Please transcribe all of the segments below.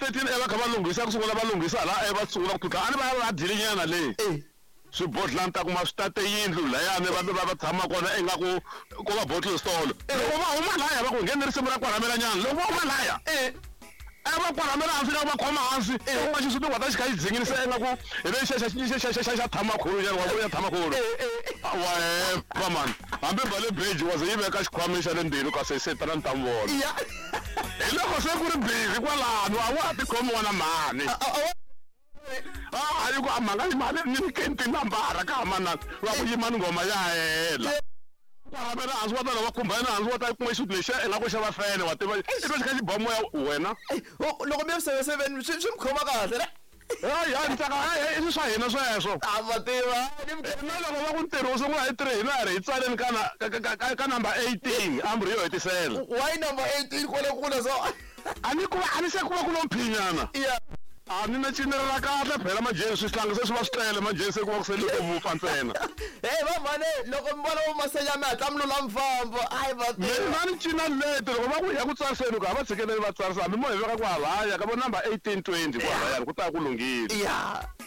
13 e va kha va lunghisa ku sungula va lunghisa hala e va sungula ku tlutla a ni va va dyile nyana le swibodlani ta kuma swi tate yindlu layani va va va tshama kona ingaku ko va bottle store loko va huma laya va ku ngheni risimu ra kwaramela nyana loko va huma laya a va kwaramela hansi ka va khoma hansi u nga xisuti wa ta xi kha xi dzinginisa ingaku hi le xa thamakhulu nyana wa ya thamakhulu wa hemba mani hambi bale beji wa ze yi veka xikhwameni xa le ndzeni kasi se tana ni ta mi vona hi loko se ku ri busy kwalano a wa ha tikhomi n'wana mhani a yi ku a mhanga yi mali ni nyikeni tinambara ka ha manana va ku yimani nghoma ya hela kwaramela hansi wa tana va khumba yena hansi wa ta kuma xisuti lexiya ingaku xa va fene wa tiva i twa xi kha xi ba moya wena loko mi ya 77 swi mi khoma kahle ne hayi hayi tsaka hayi i swa hina sweswo a va tiva na loko va ku ntirho wu sungula hi 3 hina hi ri hi tsaleni ka number 18 amri yo hetisela why number 18 kwale kule so a ni ku va a ni se ku va ku lo mphinyana a ni na cinelela kahle phela majeni swihlangi se swi va swi tlele majeni se ku va ku sele ku vupfa ntsena hey va mhane loko mi vona masenya mi hatla mi lula mfambo hayi va mina ni cina leti loko va ku ya ku tsariseni ku a va tshikeleli va tsarisa hambi mo hi veka ku halaya ka vo number 18 20 ku halayani ku ta ku lunghile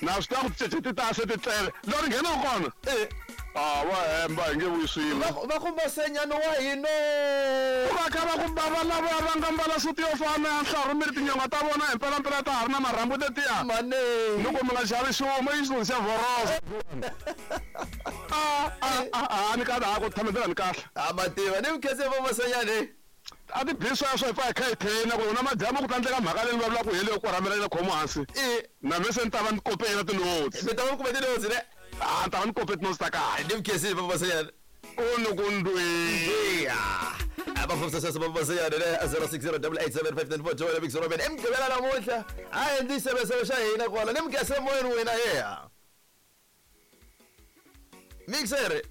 na swi tiva ku ticece ti ta se ti tlele lori nghenaka kona a va hemba hi nge vuyi swin'we va ku masenyano wa hino va kha va ku bava lava va nga mbala suti yo fana ya nhlaru mi ri tinyonga ta vona hi mpelampela ta ha ri na marhambu tetiya mane loko mi nga xavi xumo i xilungu xa vhorosa a ni kahle a ku tshamedzela ni kahle a ma tiva ni mukhense va masenyane a ti bi sweswo hi pfa hi kha hi traina ku na madyambu ku tlandleka mhaka leyi ni vulavulaka hi leyo korhamela yena khomo hansi na me se ni ta va ni kope yena tinotsi mi ta va mi kume tinotsi ne a ni ta va ni kope tinotsi ta kahle ni mukhense va masenyane u ni ku ndwiya abafumsasasa babasenyane le 0608875942 Big Robin emgqibela namuhla hayi ndzi sebesebe xa hina kwala ni mukhense moyeni wena yeya mixer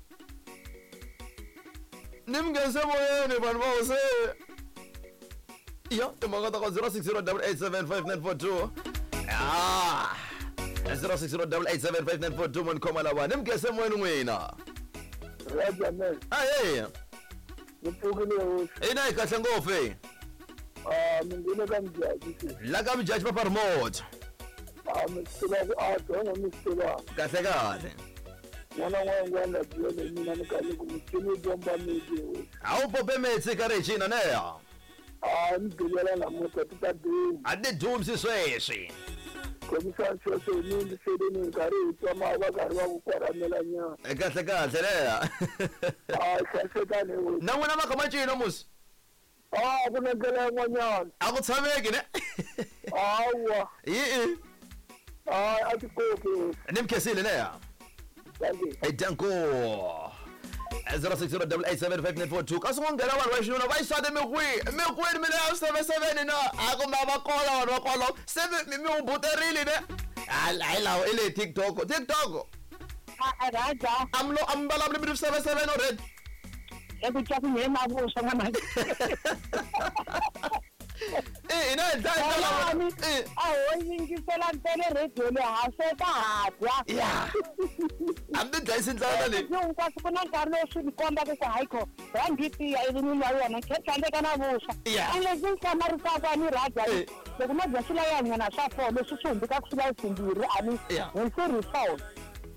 ni mukhense moyeni vanhu va hose yo timhaka ta ka 0608875942 ah 0608875942 mo ni khoma lava ni mukhense moyeni n'wina Rajames, ahe ni pfukile hosi. ina hi kahle ngopfu e Ah, mi nghene ka mujaji se. la ka mujaji papa remote Ah, mi swi tiva ku a dyongo mi swi tiva. kahle kahle N'wana n'wana n'wana byele mina ni kahle ku muchini bomba miti hosi. a wu pope metsi ka regina neya Ah, ni bilela namuntlha ti ta duma. a ti dumsi sweswi Khomisani sweswo hi mi yingiseleni hi karhi hi twa ma va karhi va ku kwaramela nyana. Kahle kahle leya Ah, hlayisekani hosi. na n'wina maka macino musi Ah, ku na ndlela yin'wanyana. a ku tshameki ne Hawa. yi Ah, a ti koki hosi. ni mukhensile leya Thank you. danko 0608875942 kasi ku nghena vanhu va xinuna va xisati mikwihi mikwini mi leya 77 na a kumbe a va kola vanhu va kola se mi hubuterile ne hayi lawo i le tiktok tiktok Raja, a mi lo a mi vulavuli mi ri 77 already eku twa ku nghena vuswa n'wana. i hina hi dlaya Yalani, i a ho yingisela ntsena radio leyi ha sweka ha dya. ya a mi ti dlayisi ndlala leyi Hinkwaswo ku na nkarhi lowu swi ni kombaka ku hayi kho rhangi tiya ivi ni nwa yona khe tlandleka na vuswa. Yeah. And lexi ni hlamarisaka ni Raja Eh. loko no dya swilayanyana swa four leswi swi hundzukaka swilayi swimbirhi a ni Yeah. hi swi ri four.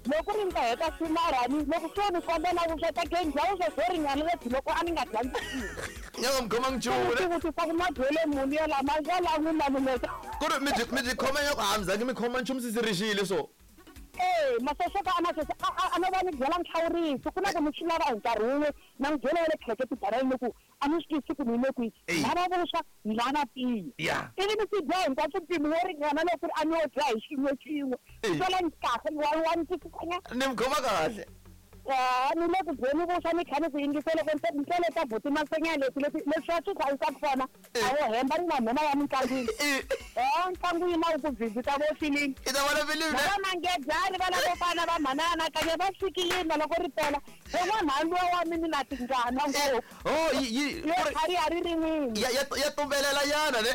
Loko ri ni ta heta swimarani loko swo ni kombela vuswa ta ke ni dya vuswa byo ringana lebyi loko a ni nga dyangi nyaka mi khoma nchumu ne tivutisa ku madyele muni ya lama ya la n'wina ni ku ri mi byi khoma nyako a mi zangi mi khoma nchumu sisi so ee masosoko a masese a no va ni byela nhlawuriso ku na ku ni swi lava hi nkarhi wun'we na ni byela wa le tlheke tibarani ni ku a ni swi twisisi ku ni le kwihi Eyi. lava vuswa ni lava tiya ya ivi ni swi dya hinkwaswo mpimo wo ringana loko ri a ni wo dya hi xin'we xin'we Eyi. swela ni kahle wa ni twisisanyana ni mi khoma kahle ni le ku dyeni vuswa ni kha ni ku yingisela ku ntlele ta buti masenya leti leti leswi va swi hlayisaka swona a wo hemba ni na nhoma ya mintlangwini i ntlangu yi na wu ku vhizita vo filimi i ta vona filimi ne va mangedzani va lavo fana va mhanana kanye va fikile loko ri pela un'wana luwa wa mini na tingana ngopfu oh yi yi yo tlhariha ri rin'wini ya ya ya tumbelela nyana ne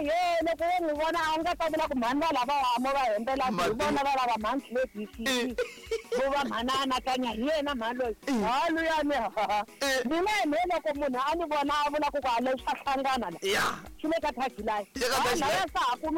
ye loko wo n'wi vona a wu nga ta vula ku mhani va lava hamo va hembela hi vona va lava mhani tlebisi vo va mhani a anakanya hi yena mhani loyi ha luyani mina hi me loko munhu a ni vona a vula ku ku a leswi swa hlangana la ya swi le ka tagline Le ka tagline. laya sa ha ku ni